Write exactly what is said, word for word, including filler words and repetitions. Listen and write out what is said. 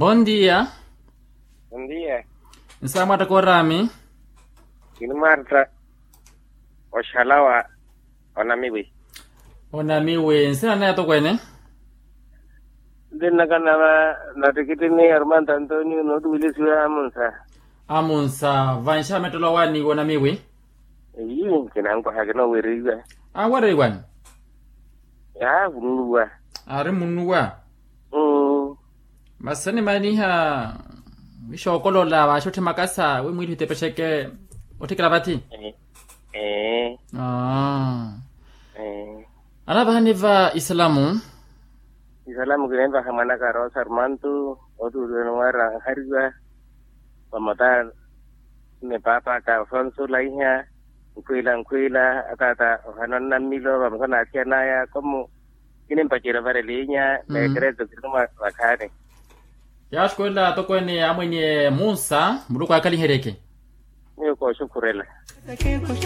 Bondia. Bondia. Nsaamwatta kooraami. Kini marta. Oxalawa. Onamiwi. Onamiwi nsina naye atokweene. Ntinnakana va natikitini armando antonio nootuwilisiwa amunsa. Amunsa vanxamettelo awaaniwa onamiwi. Eyi kinankwaha kinoowereiwa. Awereiwani. Yaavunuwa. Ari munuwa. Masi animaniha. Wixookolola waxotthe makasa wi mwiitthu itepexeke. Otthikela vathi. Ee. Anavahani va isalamu. Isalamu kinenvaha mwanaka rosa armantu. Otuulwene wara anhariwa. Vamata. Ni paapaka afonso olaiha. Nkhwiila nkhwiila ataata ohana onnammilo vamata na athiyan'aya komu. Kinimpacerya varelinya. Nekereto kinuma vakhaani. Yaaxukulela atokweene amweniye munsa muluku akaliheryeke. Miyo kooxukhurela.